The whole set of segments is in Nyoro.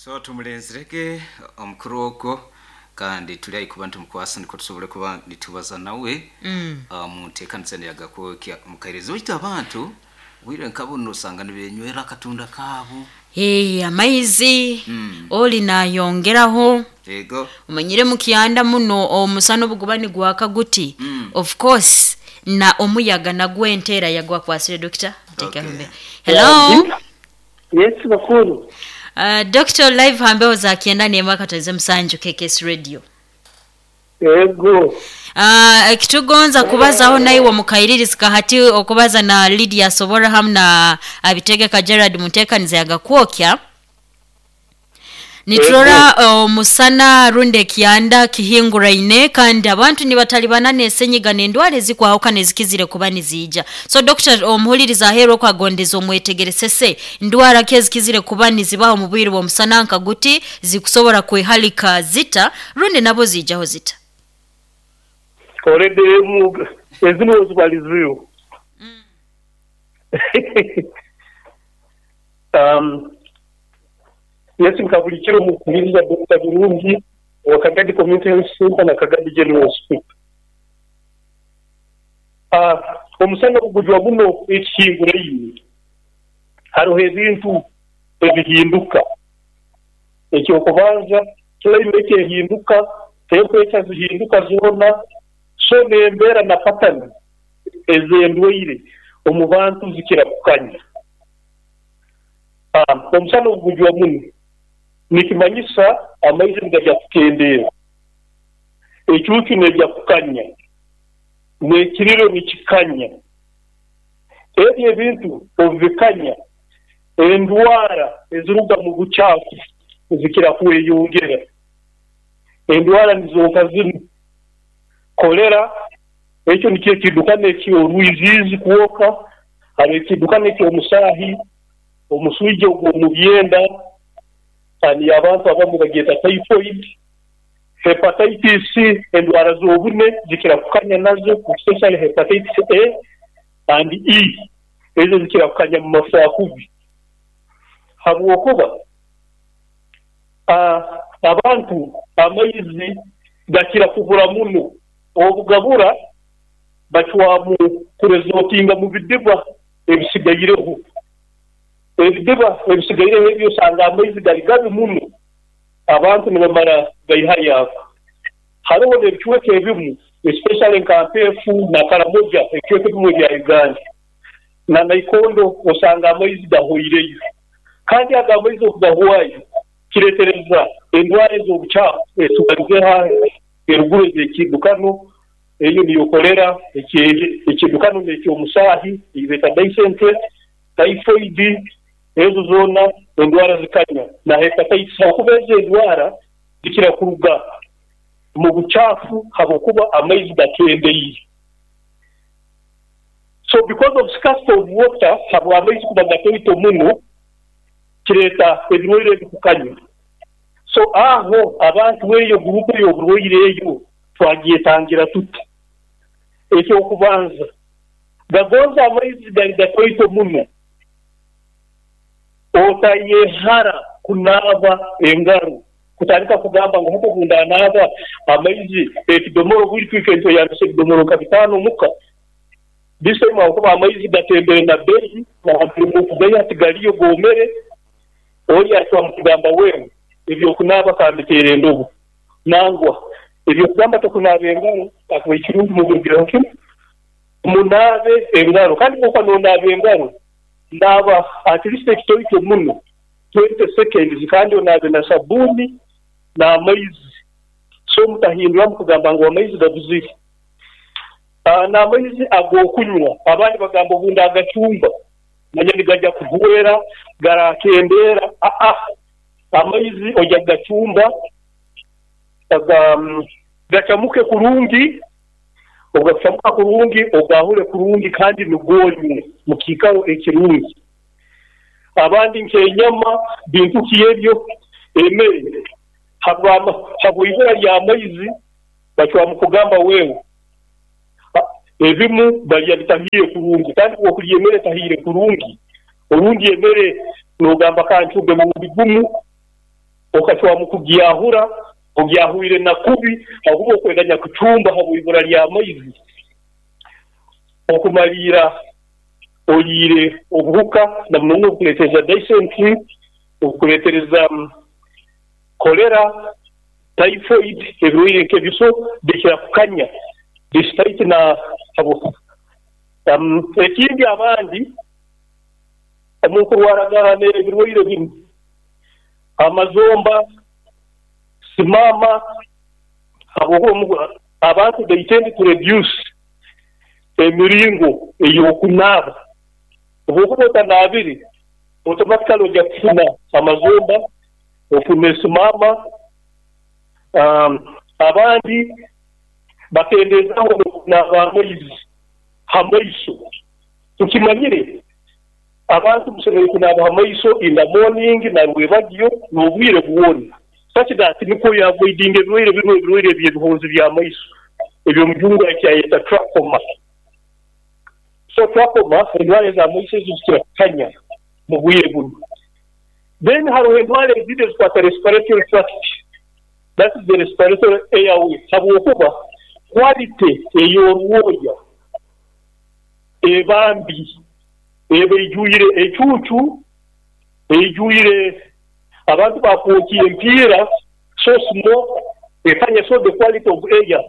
So tumulenzerege omukuru ogwo, kandi tuli haihi kuba nitumukwasa nukwo tusobole kuba nitubaza nawe mu nteekaniza neyagakwokya omukairezi. Baitu abantu obwire nka bunu osanga nibenywera akatunda kaabo. Amaizi oli nayongeraho. Ego. Omanyire mukyanda muno omusana obu guba nigwaka guti, of course na omuyaga nagwo enteera yagwakwasire. Dokita, otekeho Okay. mbe. Hello. Yes, bakuru. Dokita, live ha mbeho za 91.7 KKS Radio. Ego. Ekitugonza kubazaho naiwe omukairirizi kahati okubaza na Lydia Asobora hamu na Abitegeka Gerard muntekaniza yagakwokya. Niturora omusana rundi ekyanda kihinguraine, kandi abantu nibatalibana n'esenyiga n'endwara ezikwahukana ezikizire kuba niziija. So dokita, omuhuliriza aheeru okwagondeza omwetegeresese ndwara ki ezikizire kuba nizibaho omu bwire bw'omusana nka guti, zikusobora kwehalika zita rundi nabo ziijaho zita? Already ezimu ozibalizireho. Yes, nka buli kiro mukuhuliriza Dr. Birungi owa Kagadi Community Health Center na Kagadi General Hospital. Omusana ogujwa muno ekihinguraine, haroho ebintu ebihinduka. Ekyokubanza, climate ehinduka, temperature zihinduka zoona, so n'embeera na pattern ez'endwaire omu bantu zikira kukanya. Omusana ogujwa muno nikimanyisa amaizi nigajya kukendeera, ecuucu neija kukanya, n'ekiriro nikikanya. Ebyo ebintu obu bikanya, endwara eziruga mu bucaafu zikira kweyongera. Endwara nizo nka zinu: kolera, ekyo nikyo ekiddukano eky'orwiziizi kwoka, haroho ekiddukano eky'omusaahi, omuswija ogw'omu byenda, kandi abantu abamu bagyeta typhoid, hepatitis, endwara z'obune zikira kukanya nazo, especially hepatitis A and E, ezo zikira kukanya mu mafaakubi, habwokuba abantu amaizi gakira kubura muno. Obu gabura, bacwamu kuresortinga mu bidiba ebisigaireho. Ebidiba ebisigaireho ebyo osanga amaizi gali gabi muno, abantu nibamara gaihayo ago. Haroho n'ebicweka ebimu, especially nka Mpeefu na Karamoja, ebicweka ebimu ebya Uganda, na Naikondo osanga amaizi gahoireyo. Kandi ago amaizi obu gahwayo, kireetereza endwara ez'obucaafu ezitubalizeho eruguru ez'ekiddukano, eyo niyo kolera, ekiddukano n'eky'omusaahi ei beeta dysentery, typhoid, ezo zoona endwara zikanya, na hepatitis, habwokuba ezo endwara zikira kuruga mu bucaafu habwokuba amaizi gakendeire. So because of scarcity of water, habw'amaizi kuba gatoito muno, kireeta ebirwaire ebi kukanya. So aho abantu eyo gurupu ey'oburwaire eyo twagyetangira tuta? Eky'okubanza, gagonza amaizi gali gatoito muno, otayehara kunaaba engaro, kutandika kugamba ngu hati obu ndanaaba amaizi ekidomora, obwire itwe nitweyambisa ebidomoro nka 5 omuka. This time habwokuba amaizi gatembere na beeyi, nahambere tigaliyo goomere, oli acwamu kugamba wewe eby'okunaaba kambiteera endobo. Nangwa, eby'okugamba tokunaaba engaro, kakuba ekirungi muburugireho kimu, munaabe engaro. Kandi bw'okuba n'onaaba engaro, naaba at least ekitoito muno 20 seconds, kandi onaabe na sabuuni n'amaizi. So mutahinduramu kugamba ngu amaizi gabuzire. N'amaizi ag'okunywa, abandi bagamba obu ndagacumba manya nigajya kuhwera, garakendeera. Aa, amaizi ojya kugacumba gacamuke kurungi, obu gakucamuka kurungi ogaahule kurungi kandi nugwo onywe mu kiikaro ekirungi. Abandi nk'enyama, bintu ki ebyo, emere, habw'ibura ly'amaizi bacwamu kugamba wewe ebimu balya bitahiire kurungi, kandi obu okulya emere etahiire kurungi, orundi emere n'ogamba kancumbe murundi gumu. Okacwamu kugyahura, ogyahwire na kubi, habwokuba okweganya kucumba habw'ibura ly'amaizi. Okumaliira oliire obuhuka na muno muno obukuleetereza dysentery, obukuleetereza kolera, typhoid, ebirwaire nk'ebyo so bikira kukanya despite na habwo ekindi abandi omu kurwaragana ebirwaire binu amazomba, simama, habwokuba abantu they tend to reduce emiringo ey'okunaaba. Obu okuba otanaabire, automatically ojja kufuna amazomba, ofune simama. Abandi bakendeezaaho n'okunaaba amaizi ha maiso. Tukimanyire abantu musemeriire kunaaba ha maiso in the morning na rwebagyo n'obwire bwona such that nukwo oavoidinga ebirwaire binu, ebirwaire eby'ebihonzi by'amaiso eby'omujungu ekyayeta trachoma. So trachoma, endwara ez'amaiso ezo zikira kukanya mu bwire bunu. Then haroho endwara ezindi ezikwata respiratory tract, that is the respiratory airway, habwokuba quality ey'orwoya eba mbi, eba eijwire ecuucu, eijwire abantu bakwokya empiira, so smoke ekanya, so the quality of air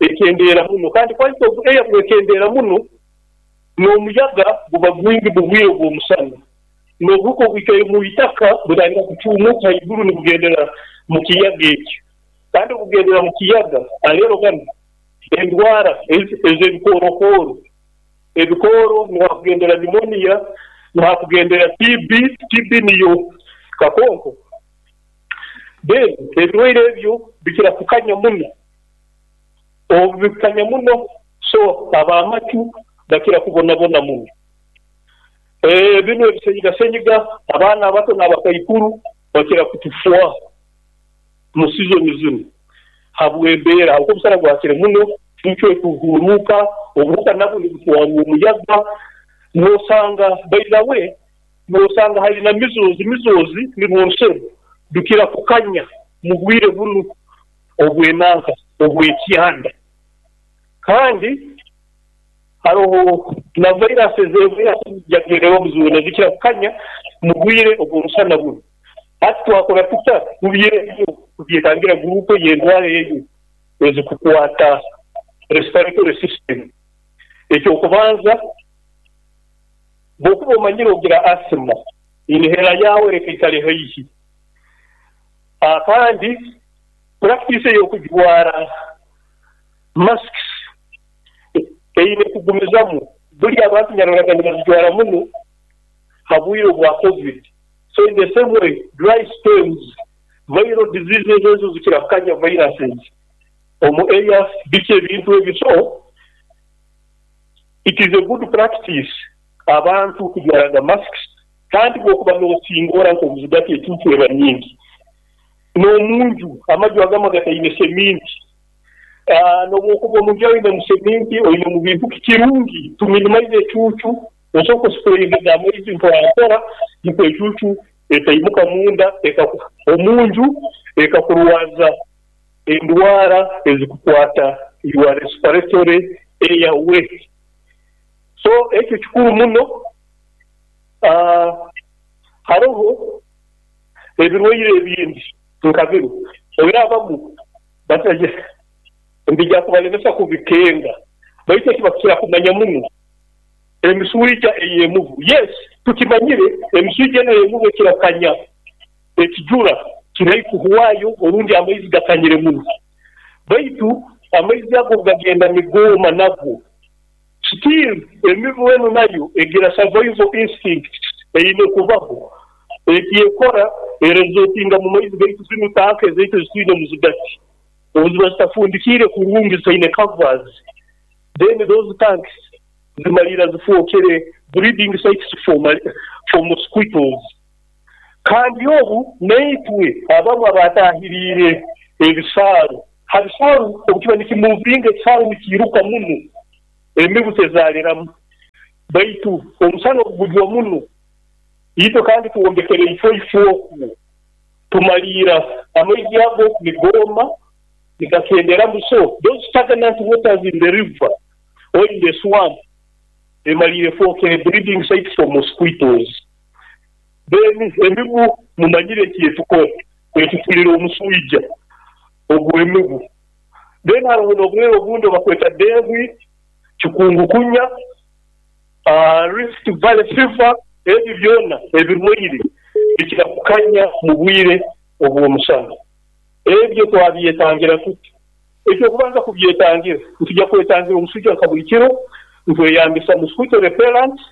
ekendeera muno. Kandi quality of air bwekendeera muno, n'omuyaga guba gwingi mu bwire obw'omusana, n'obuhuka obwikaire mu itaka butandika kucuumuka haiguru nibugendera mu kiyaga ekyo. Kandi obugendera mu kiyaga, aleero ganu endwara ez'ebikoorokooro, ebikooro nuho hakugendera pneumonia, nuho hakugendera TB, TB niyo kakonko. Then ebirwaire ebyo bikira kukanya muno. Obu bikukanya muno, so ab'amatu bakira kubonabona muno. Binu ebisenyigasenyiga, abaana abato n'abakaikuru bakira kutufwaho mu sizoni zinu habw'embeera, habwokuba omusana gwakire muno, cuucu ekuhuuruuka, obuhuka nabwo nibutwarwa omuyaga, noosanga by the way, noosanga hali na measles, measles nirwo orusero rukira kukanya mu bwire bunu obw'enanka obw'ekyanda. Kandi haroho na viruses, viruses zoona zikira kukanya mu bwire obw'omusana bunu. Hati twakora tuta kubyetangira guruupu ey'endwara eyo ezikukwata respiratory system? Eky'okubanza, bw'okuba omanyire ogira asthma, inhaler yaawe leka ikale haihi. Kandi practice ey'okujwara masks eine kugumizamu. Buli abantu nyaroraga nibazijwara muno ha bwire obwa COVID. So in the same way, dry spells, viral diseases ezo zikira kukanya viruses omu air, biki ebintu ebyo. So it is a good practice abantu kujwaraga masks, kandi bw'okuba n'osingora nk'omuzigati ecuucu eba nyingi. N'omunju, amaju agamu agataine seminti, n'obwokuba omunju yaawe oinemu seminti, oinemu bintu ki, kirungi to minimize ecuucu, osooka osprayinga amaizi mpora mpora nukwo ecuucu etaimuka munda omunju ekakurwaza endwara ezikukwata your respiratory airway. So ekyo kikuru muno. Haroho ebirwaire ebindi nka binu, obiraabamu mbija kubalemesa kubikenga, baitu eki bakukira kumanya muno emiswija ey'emubu. Yes, tukimanyire emiswija enu ey'emubu ekira kukanya ekijura kiri kuhwayo orundi amaizi gakanyire muno. Baitu amaizi ago gagenda nigooma nago. Still emibu enu nayo egira survival instinct eine kubaho. Eki ekora eresortinga mu maizi gaitu zinu tanka ezaitu ezitwine muzigati. Obu ziba zitafundikiire kurungi zitaine covers, then those tanks zimalira zifookere breeding sites for mosquitoes. Kandi obu naitwe abamu abatahiriire ebisaaru, ha bisaaru obu kiba nikimuvinga ekisaaru nikiiruka muno, emibu tezaaliramu. Baitu omusana obu gujwa muno, itwe kandi twombekere ifo ifo okwo. Tumaliira amaizi ago nigooma nigakenderamu, so those stagnant waters in the river or in the swamp emaliire efwokere breeding site for mosquitoes. Then emibu mumanyire ekyetukora, etufulire omuswija ogw'emibu. Then haroho n'obulwaire obundi obubakweta dengue, chikungukunya, Rift Valley fever, ebi byona ebirwaire bikira kukanya mu bwire obw'omusana. Ebyo twabyetangira tuta? Eky'okubanza kubyetangira, nitwija kwetangira omuswija nka buli kiro nitweyambisa mosquito repellents.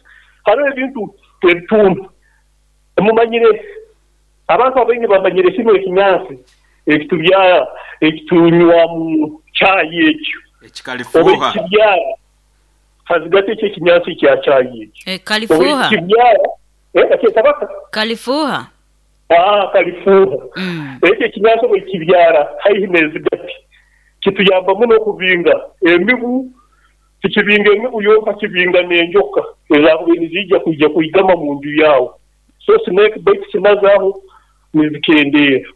Haroho ebintu ebitunda mumanyire, abantu abaingi bamanyire kinu ekinyansi ekitubyara ekitunywamu chai ekyo. Obu Ekikalifuuha. ekikibyara hazigati ekyo ekinyansi ekya chai ekyo. Obu Kalifuuha. ekikibyara, bakyeta bata? Kalifuuha. Kalifuuha. Ekyo ekinyansi obu ekikibyara haihi n'ezigati kituyamba muno okubinga emibu. Tikibinga emibu yonka, kibinga n'enjoka ezakubaire niziija kwija kwigama mu nju yaawe. So snake bites nazo aho nizikendeera.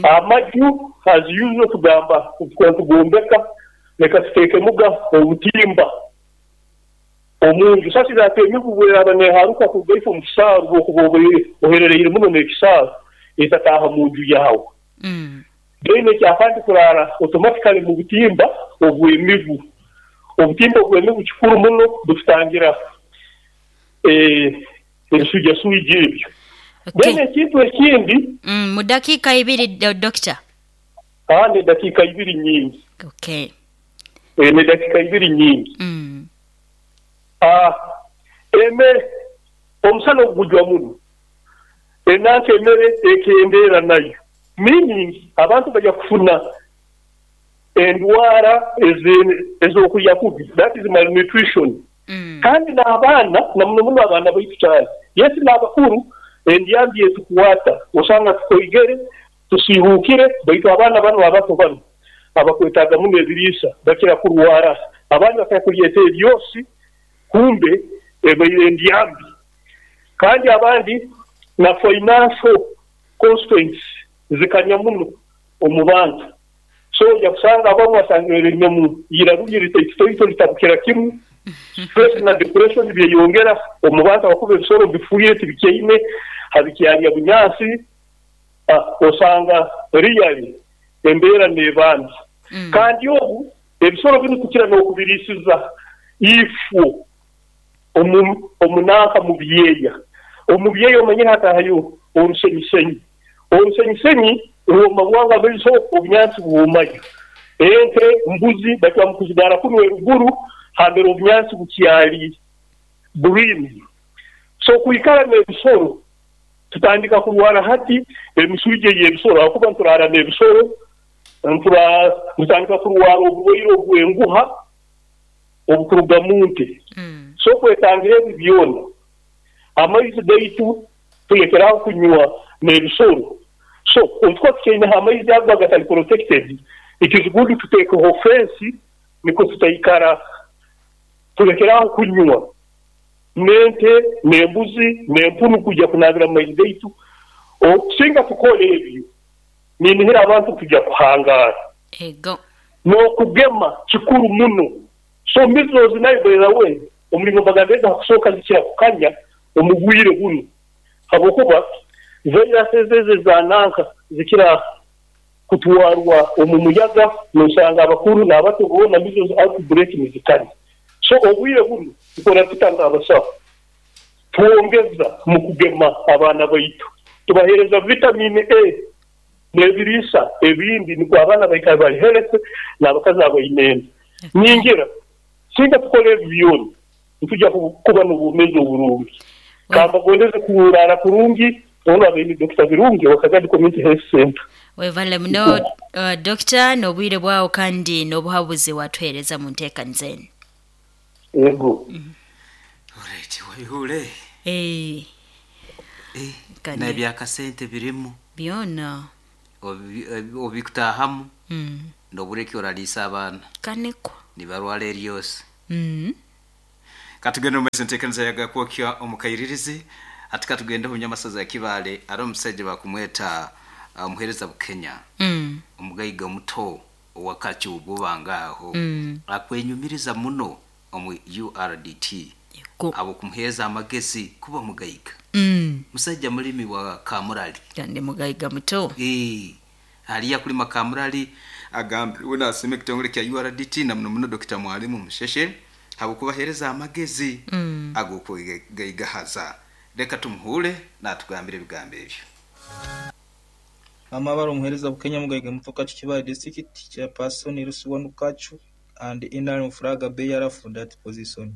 Amaju as usual tugamba obu tukuba nitugombeka leka tuteekemuga obutimba omu nju such that emibu bweraaba neharuka kuruga ifo omu kisaaru bwokuba obaire oherereire muno n'ekisaaru etataaha mu nju yaawe. Then ekyakandi kuraara automatically mu butimba obw'emibu. Obutimba obw'emibu kikuru muno bututangira ebiswijaswija ebyo. Then ekintu ekindi. Mu dakiika ibiri Dokita. N'edakiika ibiri nyingi. N'edakiika ibiri nyingi. Emere, omusana obugujwa muno, enanka emere ekendeera nayo. Meaning abantu baija kufuna endwara ez'okulya kubi, that is malnutrition. Kandi n'abaana, na muno muno abaana baitu kyana. Yes n'abakuru endyambi etukwata, osanga tukoigere, tusiihuukire, baitu abaana banu abato banu abakwetaaga muno ebiriisa bakira kurwara. Abandi bakira kulyeta ebyosi kumbe ebaire ndyambi. Kandi abandi na financial constraints zikanya muno omu bantu. So oija kusanga abamu asangire riri omu iraru lye ritaitotoito litabukira kimu. Stress na depression byeyongera omu bantu ahakuba ebisoro bifiire tibikyaine habikyalya bunyansi. Osanga really embeera neeba mbi. Kandi obu ebisoro binu tukira n'okubiriisiza ifwo omu nanka mu byeya. Omu byeya omanyire hatahayo orusenyisenyi. Orusenyisenyi rwoma bwangu amaiso obunyansi bwomayo. Ente, mbuzi bacwamu kuzigaara kunu eruguru hambere obunyansi bukyali green. So kwikara n'ebisoro tutandika kurwara hati emiswija ey'ebisoro ahakuba nituraara n'ebisoro, nitutandika kurwara oburwaire obw'enguha obukuruga mu nte. So kwetangira ebi byona, amaizi gaitu tulekeraho kunywa n'ebisoro. So obu tukuba tukyaineho amaizi ago agatali protected, it is good tuteekeho fensi nikwo tutaikara tulekeraho kunywa n'ente, n'embuzi, n'empunu kwija kunaabira mu maizi gaitu. Singa tukora ebyo, ninihira abantu nitwija kuhangaara. N'okugema kikuru muno. So measles nayo by the way, omulingo mbagambirege ha kusooka zikira kukanya omu bwire bunu habwokuba viruses ezo eza nanka zikira kutwarwa omu muyaga, nosanga abakuru n'abato boona measles outbreak nizikanya. So obwire bunu tukora tuta nk'abasaho? Twongeza mu kugema abaana baitu, tubaheereza vitamin A n'ebiriisa ebindi nukwo abaana baikale bali healthy n'abakazi abaine enda. Ningira singa tukora ebi byona nitwija kuba n'obwomeezi oburungi. Kambagondeze kuraara kurungi, onu abaire ni Dokita Birungi owa Kagadi Community Health Centre. Webale muno Dokita n'obwire bwawo kandi n'obuhabuzi watuheereza mu nteekaniza enu. Ego. Alright, waihure. N'ebyakasente birimu. Byona. Obikutaahamu n'obura eki oraliisa abaana. Kanekwa. Nibarwara eryose. Katugende omu maiso enteekaniza yagakwokya omu kairirizi. Hati katugende omu nyamasaza ya Kibaale, hariho omusaija bakumweta Muhereza Bukenya, omugaiga muto owakacu bubanga aho, akwenyumiriza muno omu URDT abo kumuheeza amagezi kuba mugaiga. Musajja mulimi wa kamurali. Kandi mugaiga muto. Haliya kulima kamurali, agambirwe nasima ekitongole kya URDT na muno muno Dr. Mwalimu Musheshe habwokubahereza amagezi ag'okwegaigahaza. Reka tumuhure natugambira ebigambo ebyo. Amabara omuhereza Bukenya Mugaiga muto Kachu Kibaale District Chairperson LC1 Kachu and NRM flag bearer for that position.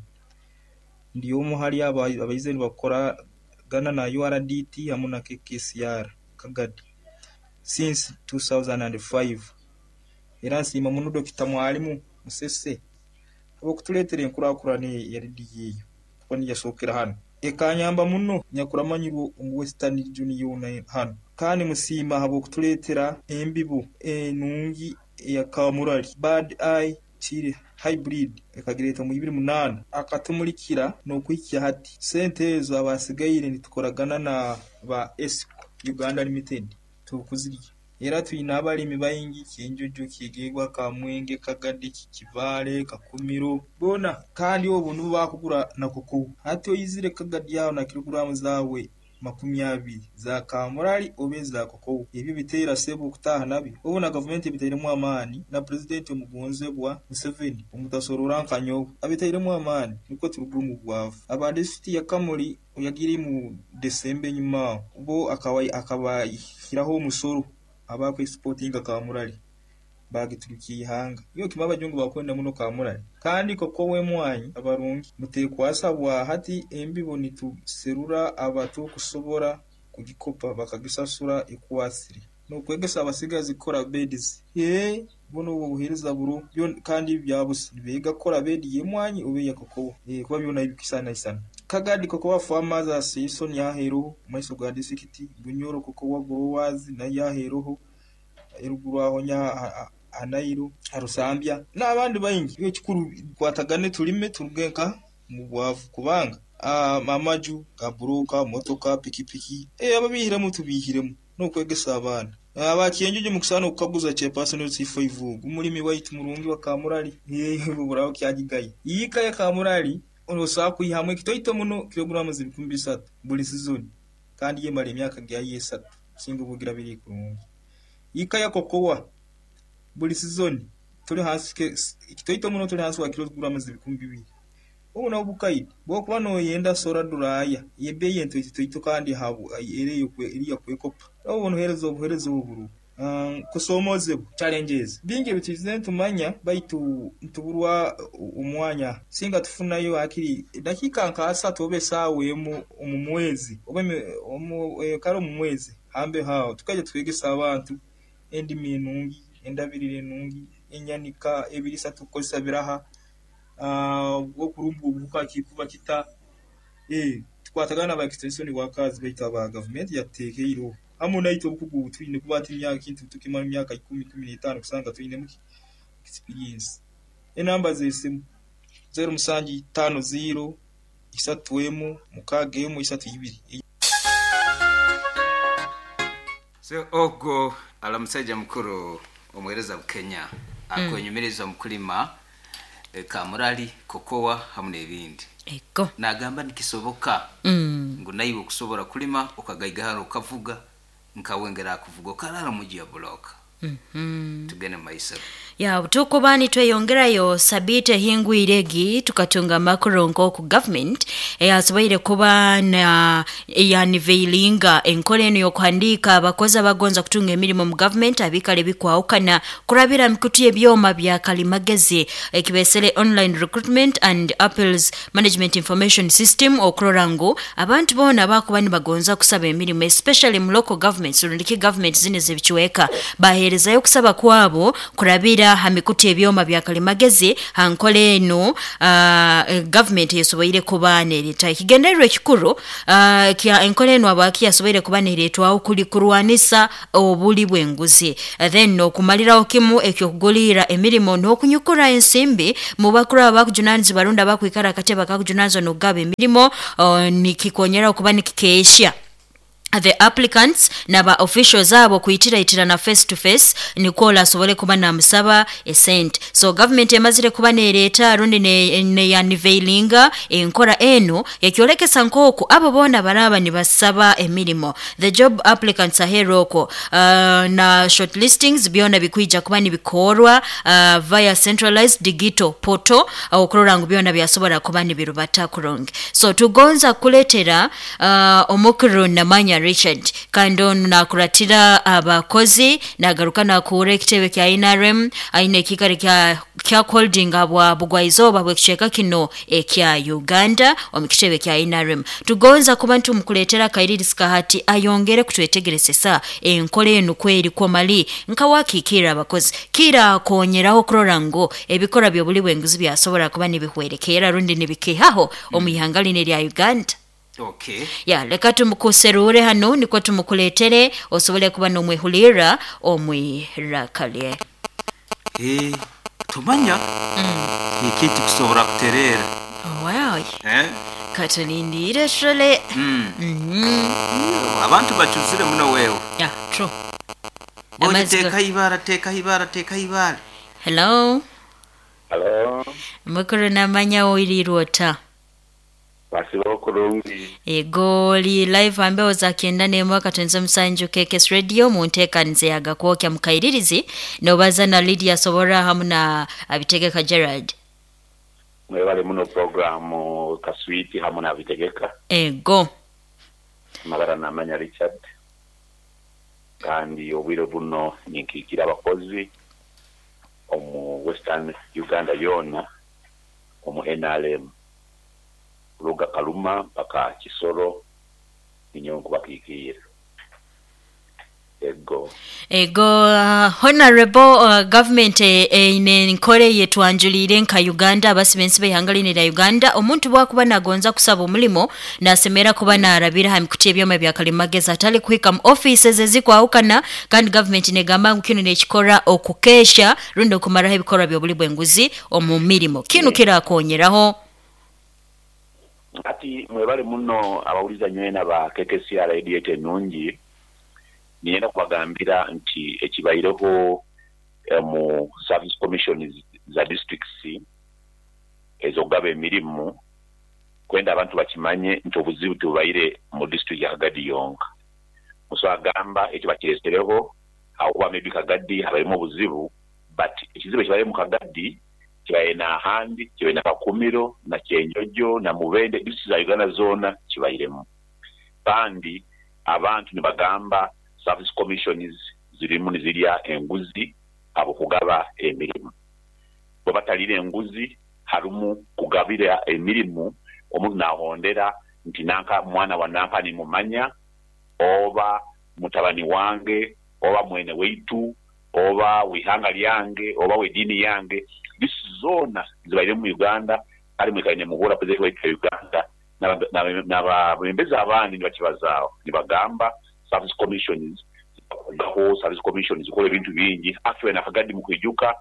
Ndi omu hali abo abaize nibakoragana na URDT hamu na KKCR Kagadi since 2005. Era nsiima muno Dr. Mwalimu Musese habw'okutuleetera enkurakurana ya rediyo eyo kuba niyasookera hanu. Ekanyamba muno nyakuramanyirwe omu Western Region yoona hanu. Kandi musiima habw'okutuleetera embibo enungi eya kamurali Bad Eye Chili Hybrid ekagireeta mu 2008 akatumulikira n'okuhikya hati. Sente ezo abasigaire nitukoragana na ba Esco Uganda Limited tukuzirya. Era twine abalimi baingi Kyenjojo, Kyegegwa, Kamwenge, Kagadi, Kibaale, Kakumiro boona kandi obu nibo bakugura na kokowa. Hati oizire Kagadi aho na kiloguramu zaawe 20 za kamurali oba eza kokowa. Ebyo biteera sebo okutaaha nabyo. Obu na gavumenti ebitairemu amaani na pulezidenti omugonzebwa Museveni omutasorora nka nyowe abitairemu amaani nukwo turuge omu bwavu. Aba disitulikiti ya Kamuli oyagiire mu Desemba enyuma aho bo akabahiraho omusoro abakwesipotinga kamurali bagiturukia ihanga. Iyo kima abajungu bakwenda muno kamurali. Kandi kokowa emwanyi abarungi mutekwasa bwa hati embibo nituserura abato kusobora kugikopa bakagisasura ekwasire. N'okwegesa abasigazi kukora beds. Buno obwo obuheereza buro byo kandi byabusa. Nibeega kukora bedi y'emwanyi oba eya kokowa. Kuba byona bikisanaisana. Kagadi Cocoa Farmers Association yaheeroho maiso ga disitulikiti, Bunyoro Cocoa Growers nayo yaheeroho, eruguru aho Hanairo, Harusambya n'abandi baingi. Ekikuru tukwatagane tulime turuge nka mu bwavu kubanga amaju ga buroka, motoka, pikipiki, ababihiremu tubihiremu n'okwegesa abaana. Abakyenjojo mukusaana okukaguza chairperson C5 ogu mulimi waitu murungi wa kamurali. Buraho kyagigaye. Yiika ya kamurali osobola kwihamu ekitoito muno kiloguramu 3,000 buli sizoni kandi yemara emyaka gyayo 3 singa obugira biri kurungi. Yiika ya kokowa buli sizoni tuli hansi ekitoito muno tuli hansi wa kiloguramu 2,000. Obu nabwo bukaidi bw'okuba noyenda sora duraya ebbeeyi entoitoito kandi eriya kwekopa. Obu noheereza obuheereza oburu kusomozebwa challenges bingi ebitwize nitumanya baitu nituburwa omwanya singa tufunayo hakiri dakiika nka 3 oba esaawa emu omu mwezi oba kare omu mwezi hambe haaho tukaija twegesa abantu endimi enungi, endabirira enungi, enyanika ebiriisa tukukozesa biraha, okurumba obuhuka kikuba kita, tukwatagana n'aba extension workers baitu aba gavumenti yatuteekeireho hamu naitwe obukugu obu twine kuba hati ekintu tukimara emyaka 10, 15 kusanga twinemu experience. Enamba z'esimu 0750 31 61 32. So ogo ala musajja mukuru omuhereza Bukenya akwenyumiriza omu kulima kamurali, kokowa hamu n'ebindi. Ego. Nagamba nikisoboka ngu naiwe okusobora kulima okagaigahara okavuga nkawe ngera akuvuga okarara muji ya buloka. Tugende mu maiso. Ya tukuba nitweyongerayo sabite hingwire egi tukatunga amakuru nk'oku government eyasoboire kuba na yaniveilinga enkola eno y'okuhandiika abakozi abagonza kutunga emirimo mu government abikale bikwawukana kurabira mikutu y'ebyoma bya kalimagezi ekibesere online recruitment and appeals management information system okurora ngu abantu boona bakuba nibagonza kusaba emirimo especially mu local governments rundiki government zine zebikiweka baheerezayo kusaba kwabo kurabira ha mikutu ebyoma bya kalimagezi ha nkola eno government esoboire kuba nereeta ekigendererwa ekikuru kya enkola eno abaki yasoboire kuba nereetwaho kuli kurwanisa obuli bw'enguzi, then okumaliraho kimu ekyokugulirra emirimo n'okunyukura ensimbi mu bakuru abakujunanizibwa rundi abakwikara akatebe akakujunanizibwa n'okugaba emirimo, nikikonyera okuba nikikeehya. The applicants naba officials abo kuitiraitirana face to face, nikwo asobole kuba namusaba esente. So government emazire kuba nereeta rundi neyaniveilinga enkora enu ekyolekesa nk'oku abo boona baraba nibasaba emirimo, the job applicants aheeru okwo, na shortlistings byona bikwija kuba nibikorwa via centralized digital portal, okurora ngu byona byasobora kuba nibirubata kurungi. So tugonza kuletera omukuru Namanya Richard, kandi onu nakuratira abakozi, nagaruka nakuura ekitebe kya NRM, aine ekikaro kya holding bwa bugwaizooba bw'ekicweka kino ekya Uganda omu kitebe kya NRM. Tugonza kuba ntumukuleetera akairirizi kahati ayongere kutwetegeresesa enkola enu kweri kwomali nkawakiikirra abakozi kirakonyeraho kurora ngu ebikorwa by'obuli bw'enguzi byasobora kuba nibihwerekeera rundi nibikehaho omu ihanga lino erya Uganda. Okay. Ya, leka tumukuserure hano nikwo tumukuletere osobole kuba nomwehulira omwirakalye. Eh, tumanya ekintu kusobora kuterera. Wow. Eh? Katulindire shole. Abantu bacuzire muno wewe. Yeah, true. Bonye Amazzi teka ibara, teka ibara, teka ibara. Hello. Halo, Mukuru Namanya, oirirwota? basiba okurungi. Ego li live ambeho za 91 katonze musanju KKS Radio mu nteekaniza yagakwokya mukairirizi, nobaza na Lydia Sobora hamu na Abitegeka Gerard. Mwebale muno programu Kaswiti hamwe na Bitegeka. Ego. Amabara Namanya Richard. Kandi obwire buno ninkiikira abakozi omu Western Uganda yoona omu NRM. Kuruga Karuma mpaka Kisoro ninyowe nkubakiikirira. Ego. Ego, honorable, government eine nkore yetwanjuliire nka Uganda, abasibensi b'ihanga lino lya Uganda, omuntu bwakuba nagonza kusaba omulimo nasemera kuba narabira ha mikuti ebyoma bya kalimagezi atali kuhika mu offices ezikwahukana, kandi government negamba ngu kinu nekikora okukesha rundi okumaraho ebikorwa by'obuli bw'enguzi omu mirimo. Kinu kirakonyeraho. Ati mwebale muno abawuliza nywena ba KKCR Radio yetu ennungi. Niyenda kubagambira nti ekibaireho mu service commissions za districts ez'okugaba emirimu, kwenda abantu bakimanye nti obuzibu tubaire mu district ya Kagadi yonka. Muso agamba ekyo bakiresereho aho maybe Kagadi habairemu obuzibu, but ekizibu ekibaire mu Kagadi kibaire n'ahandi, kibaire na Kakumiro na Kyenjojo na Mubende, district za Uganda zoona kibairemu. Kandi abantu nibagamba service commissions zirimu nizirya enguzi abo kugaba emirimu. Bwe batalire enguzi harumu kugabira emirimu, omuntu nahondera nti nanka mwana wa nanka nimumanya, oba mutabani wange, oba mwene weitu, oba wihanga lyange, oba wedini yange. This zona zibaire mu Uganda, kale mwikaine muhura president waitu ya Uganda n'abebembezi abandi nibakibazaaho nibagamba service commissions gaho, service commissions zikola ebintu bingi. Actually na Kagadi mukwijuka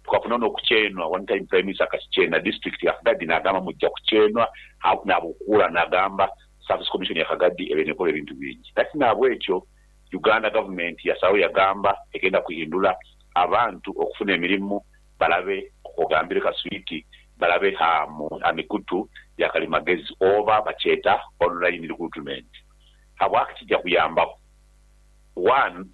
tukafuna n'okuchenwa one time prime minister akakichena district ya Kagadi nagamba mujja kuchenwa nabukura, nagamba service commission ya Kagadi ebene ekola ebintu bingi. Kati nabwekyo Uganda government yasawo yagamba egenda kuhindula abantu okufuna emirimu balabe okugambire Kaswiti balabe hamu amikutu ya kalimagezi oba bacheta online recruitment. Habwaki kijja kuyamba? One,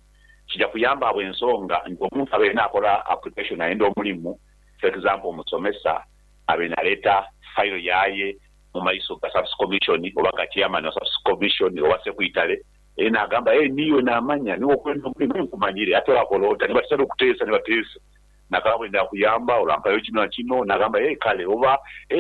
kijja kuyamba abo ensonga nti omuntu abeere nakola application ayenda omulimu, for example omusomesa abeere naleeta file yaye mu maiso ga service commission oba ga chairman wa service commission oba secretary, nagamba niwe namanya niwe okwenda omulimu nkumanyire, ate orakola ota, nibatesa okuteesa, nibateesa nakaba bwenda kuyamba orampayo kino na kino, nagamba kale oba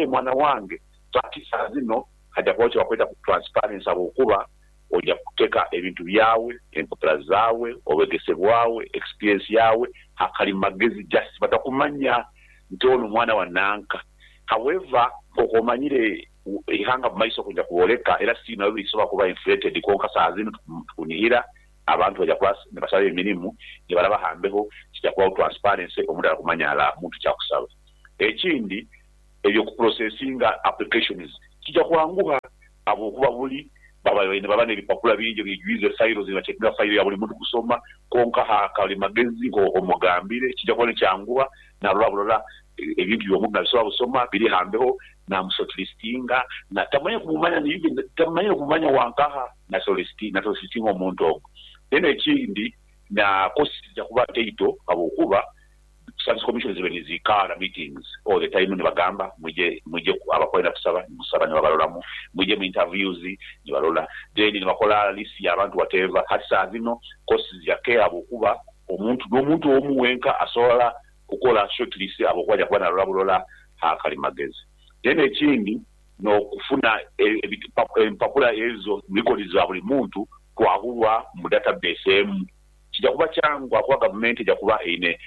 mwana wange. So ati saa zino hajja kubaho kye bakweta ku transparency, habwokuba ojja kuteeka ebintu byawe, empapula zaawe, obwegese bwawe, experience yawe hakalimagezi, just batakumanya nti ono mwana wa nanka. However, okomanyire ihanga mu maiso kujja kuboleka, era si nabyo bisobola kuba inflated, konka saa zino tukunihira abantu bajja kuba nibasaba emirimu nibalaba hambeho kijja kubaho transparency, omuntu arakumanya ala muntu kyakusaba. Ekindi ebyo kuprocessinga applications kijja kwanguha habwokuba buli Baba n'ebipapula bingi ebijwize files, nibacekinga file ya buli muntu kusoma. Konka ha kalimagezi omugambire kijja kuba nikyanguha, narora burora ebintu by'omuntu nabisobola busoma biri hambeho, namushortlistinga na tamanya kumumanya, even tamanya kumumanya wankaha na shortlistinga omuntu ogwo. Then ekindi, na cost zijja kuba ntaito habwokuba service commission zibe nizikara meetings all the time, nibagamba mwije abakwenda kusaba nimusaba, nibabaroramu, mwije mu interviews nibarola, then nibakola list y'abantu whatever. Hati saa zino cost zijakeha habwokuba omuntu n'omuntu omu wenka asobola kukola shortlist habwokuba ajja kuba narora burora ha kalimagezi. Then ekindi, n'okufuna empapula ezo records za buli muntu kwahurwa mu database emu, kijja kuba kyangu kuba gavumenti ejja kuba eine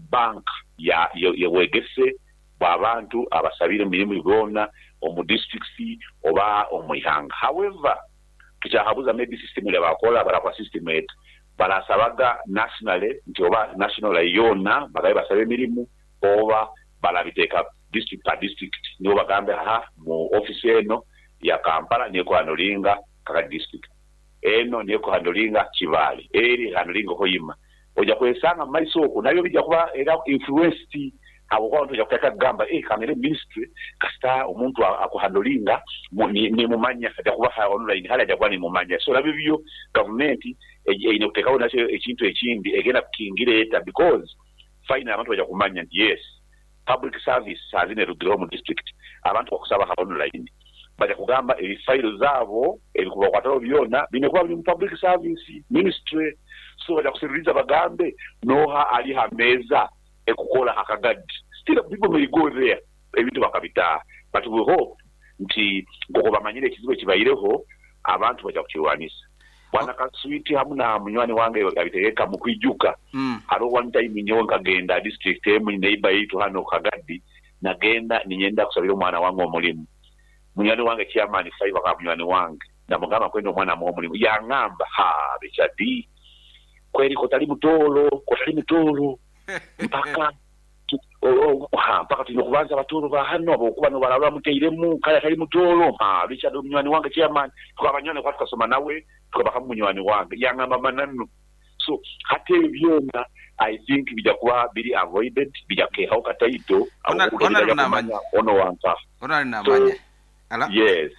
bank ya yebwegese bw'abantu abasabire emirimu boona omu districts oba omu ihanga. However, tukyahabuza maybe system erya bakola barakola system eti barasabaga nationally nti oba national yoona bagabe basabe emirimu, oba barabiteeka district per district, nibo bagambe aha mu office eno ya Kampala niyo ekuhandolinga Kagadi district, eno niyo ekuhandolinga Kibaale, eri ehandolinga Hoima. Ojja kwesanga mu maiso okwo nabyo bijja kuba era influenced habwokuba abantu bajja kutandika kugamba kangende mu ministry kasita omuntu akuhandolinga nimumanya, ajja kuba online hali ajja kuba nimumanya. So nabyo byo gavumenti eine kuteekaho nakyo ekintu ekindi egenda kukingira eta, because finally abantu bajja kumanya nti yes, public service saa zino erugireho mu district, abantu bakusaba online, bajja kugamba ebifairo zaabo ebikubakwataho byona biine kuba biri mu public service ministry. So bajja kusiririza bagambe noha ali ha meeza ekukola akagadi. Still people may go there ebintu bakabitaaha, but we hope nti nk'oku bamanyire ekizibu ekibaireho abantu bajja kukirwanisa. Bwana Kaswiti hamu na munywani wange abitegeka mu kwijuka. Hariho one time nyowe nkagenda district emu neighbor yaitu hano Kagadi, nagenda ninyenda kusabira omwana wange omulimu. Munywani wange chairman Five akaba munywani wange, namugamba kwenda omwana amuha omulimu, yangamba ha Richard kweri kotali mutoro, kotali mutoro mpaka mpaka tulina okubanza abatoro ba hano abokuba nobaraba muteiremu kale atali mutoro. Ha Richard munywani wange chairman, tukaba banywani kwa tukasoma nawe tukaba munywani wange, yangamba mananu. So hati ebyo byona I think bijja kuba biri avoided, bijja kukehaho kataito ono wanka ono namanya. Yes.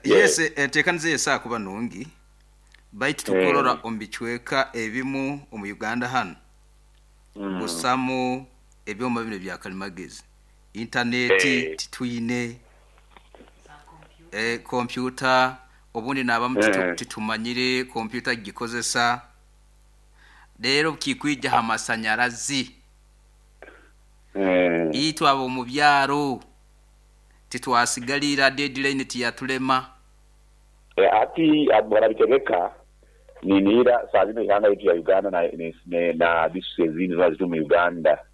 Yes, enteekaniza esaa kuba nungi baitu tukurora omu bicweka ebimu omu Uganda hano busamu ebyoma bino bya kalimagezi, intaneti titwine, kompyuta obundi nabamu titumanyire kompyuta gikozesa, rero kikwija ha masanyarazi itwe abo mu byaro titwasigalira deadline tiyatulema. Ati barabitegeka ninira saa zino ihanga yetu ya Uganda na district ezindi zona ziri mu Uganda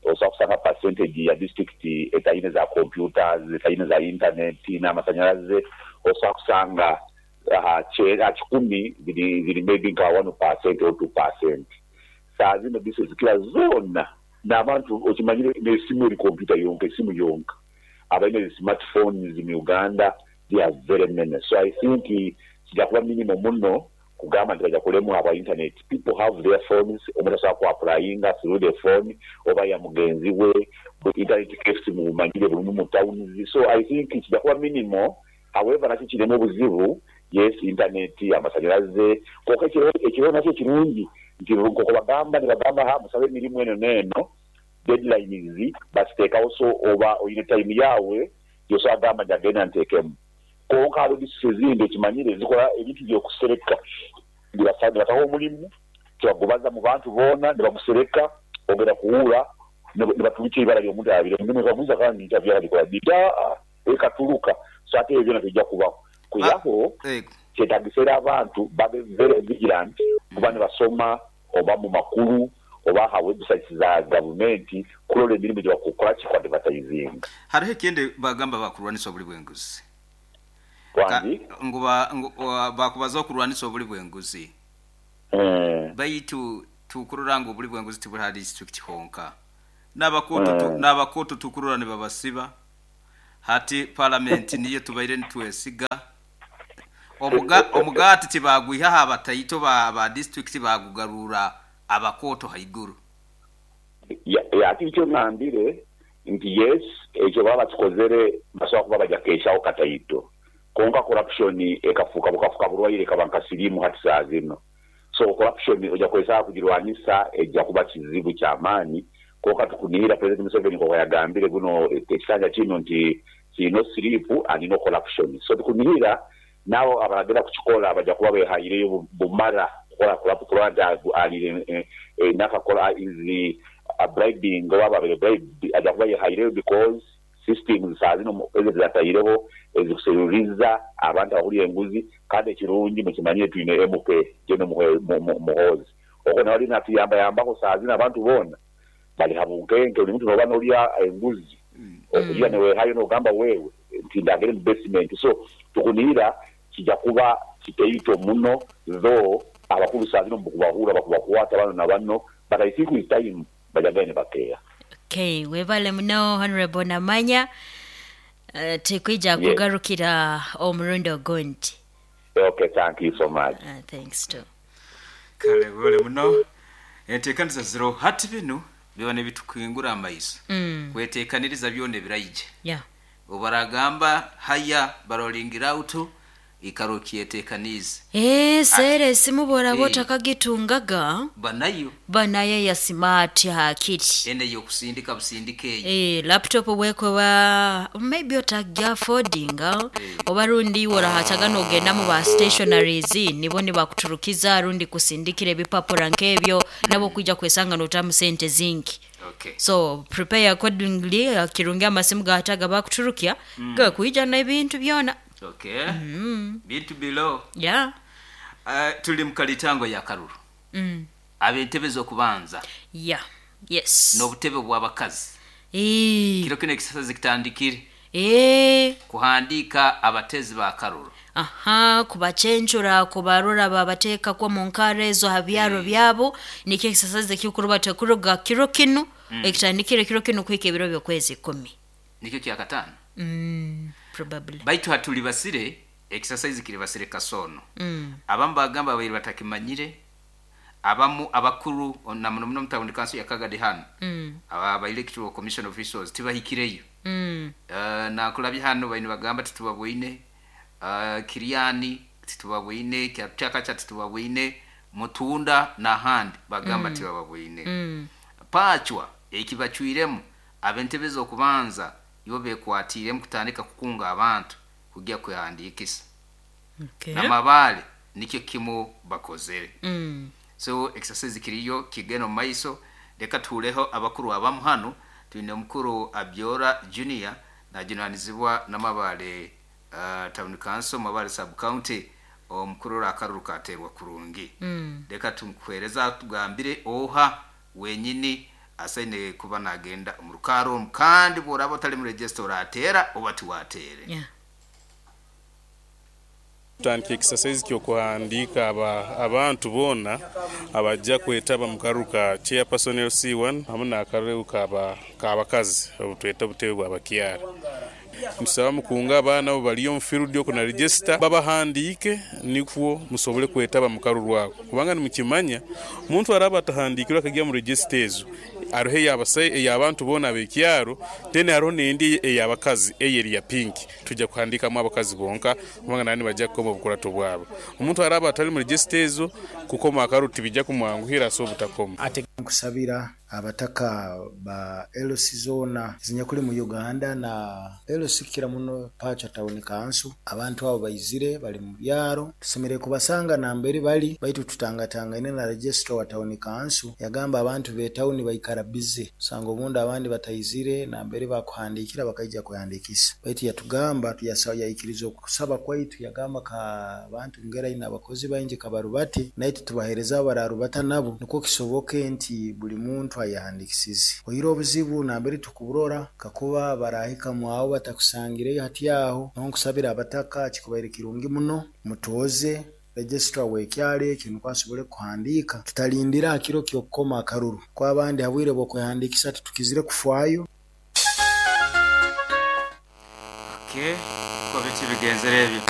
osobola kusanga percentage ya district etaine za computers, etaine za internet n'amasanyalaze, osobola kusanga 10 ziri maybe nka 1% or 2%. Saa zino district zikira zona n'abantu okimanyire n'esimu eri computer yonka, esimu yonka abalina smartphones mu Uganda they are very many. So I think kijja kuba minimum muno kugamba nti bajja kulemwa aba internet. People have their phones, omuntu asobola ku applyinga through the phone oba ya mugenzi we, internet cafes mumanyire buli mu towns. So I think kijja kuba minimum. However, nakyo kirimu obuzibu, yes, internet amasanyalaze, konka ekiro nakyo kirungi nti nk'oku bagamba nibagamba ha musabe emirimu eno n'eno, deadlines baziteekawo, so oba oyine time yawe gyosobola gamba nti agenda nteekemu. Konka hariho district ezindi ekimanyire zikola ebintu by'okusereka, nibataho omulimu tibagubaza mu bantu boona, nibagusereka ogenda kuwura nibatubika ibara ly'omuntu abire nibaguza kandi interview arabikora dida ekatuluka. So ate ebyo byona bijja kubaho kuyaho kyetagisera abantu babe very vigilant kuba nibasoma oba mu makuru oba ha websites za gavumenti kulola emirimu gye bakukola ki advertising. Hariho ekindi bagamba bakurwanisa obuli bw'enguzi. Bakubaza okurwanisa obuli bw'enguzi. Baitu tukurora ngu obuli bw'enguzi tibuli ha district honka. N'abakoto tukurora nibabasiba. Hati parliament niyo tubaire nitwesiga. Omugaati tibagwihaho abataito ba disitulikiti bagugarura abakooto haiguru. Ati nikyo ngambire nti yes, ekyo baba bakikozere basobola kuba baja keshaho kataito. Konka corruption ekafuuka bukafuka bulwaire ekaba nka siriimu hati saa zino. So corruption oja kwesanga kugirwanisa eja kuba kizibu kyamaani. Konka tukunihira President Museveni nkoku yagambire guno ekisanja kino nti no sleep and no corruption. So tukunihira nabo abaragenda kukikola baja kuba behaireyo bumara kukola kurora nti alire nakakola is bribing oba ababere bribed aja kuba yehaireyo because systems saa zino president zataireho ezikuseruriza abantu abakulya enguzi. Kandi ekirungi mukimanyire twine MP General Muhoozi okwo nawe aliyo natuyambayambaho saa zino abantu boona bali habunkenke. Buli muntu noba nolya enguzi okugira newehayo nogamba wewe nti ndagere mu basement. So tukunihira kijja kuba kitaito muno, though abakulu saa zino mukubahura bakubakwata bano na bano, but I think with time bajagaine bakeya. Okay, webale muno Honorable Namanya. Tikwija kugarukira omurundi ogundi. Okay, thank you so much. Thanks too. Kale webale muno. Enteekaniriza ziro hati binu biba nibitukingura amaiso. Kweteekaniriza byona ebiraije. Obaragamba haya barolingira out ikaro kyeteekanize. Sere esimu boraba otakagitungaga banayo banayo ya smart hakiri. Ene yokusindika busindike eyo. Laptop bwekoba maybe otagya affordinga oba rundi orahachaga nogenda mu ba stationaries nibo nibakuturukiza rundi kusindikira ebipapura nkebyo nabo kwijja kwesanga notamu sente zingi. Okay. So prepare accordingly, kirungi amasimu gataga bakuturukia gakuija na ebintu byona. Okay. Bintu below. Yeah. Tuli mukalitango ya karuru. Abentebe zokubanza. Yeah. Yes. N'obutebe bw'abakazi. Kiro kino ekisazi kitandikire. Kuhandika abatezi ba karuru. Aha, kubachenchura kubarura babateka kwa munkare ezo habyaro byabo nikyo ekisazi kikuruba tekuruga kiro kino ekitandikire kiro kino kwike ebiro byokwezi 10. Nikyo kyakatano. Probably. Baitu hatuli basire exercise kiri basire kasono. Abamu bagamba abairi batakimanyire, abamu abakuru na muno muno mutawundi kanso yakagadi hano. Aba electoral commission officials tibahikireyo. Nakulabye hano baino bagamba titubabwine, Kiriani titubabwine, Kyakacha titubabwine, Mutunda na handi bagamba tibababwine. Pachwa ekibachwiremu abentebe okubanza ibo bekwatire mukutandika kukunga abantu kujya kwehandikisa. Okay. Namabale nikyo kimu bakozere. So exercise kiriyo kigeno maiso. Reka tureho abakuru abamu hano. Twine mukuru Abyora Junior na junanizibwa namabale town council Mabale sub county omukuru akaruru katerwa kurungi. Reka tumkwereza tugambire oha wenyini asaine kuba nagenda mu rukaro kandi boraba otali mu register oratera oba tiwatere. Yeah. Tutandika exercise kyokuhandika abantu bona abajja kwetaba mu karuru ka chairperson LC1 hamu n'akaruru k'abakazi obutweta obutebe bw'abakyara. Ntusaba mukunga abaana abo bali omu field okwo na register babahandiike nikwo musobole kwetaba mu karuru ako, kubanga nimukimanya omuntu araba atahandikirwe akagya mu register ezo hariho ey'abantu boona ab'ekyaro, then hariho n'endi ey'abakazi eyeri ya pink tujja kuhandikamu abakazi bonka kubanga nani bajja kukoma obukurato bwabo. Omuntu araba atali mu register ezo kukoma akaruru tibijja kumwanguhira so obutakoma. Ate nkusabira abataka ba LC zona zinyakuli mu Uganda na LC kira muno Pacha Town Council abantu abo baizire bali mu byaro tusemere kubasanga nambere bali baitu tutangatanga ine na registrar wa Town Council yagamba abantu be town baikara busy usanga obundi abandi bataizire nambere bakuhandikira bakaija kuhandikisa baitu yatugamba yaikiriza okusaba kwaitu yagamba ka abantu ngera ina abakozi baingi kabarubati naitu tubahereza abararubata nabo niko kisoboke nti buli muntu ayahandikisize oyiro obuzibu nambere tukuburora kakuba barahika mwawo batakusangireyo hati aho nonkusabira abataka kikubaire kirungi muno mutoze registrar wekyale kintu kwasobole kuhandika tutalindira akiro kyokukoma akaruru kwa abandi habwire bwokwehandikisa tutukizire kufwayo. Okay, ko biti bigenzere ebyo.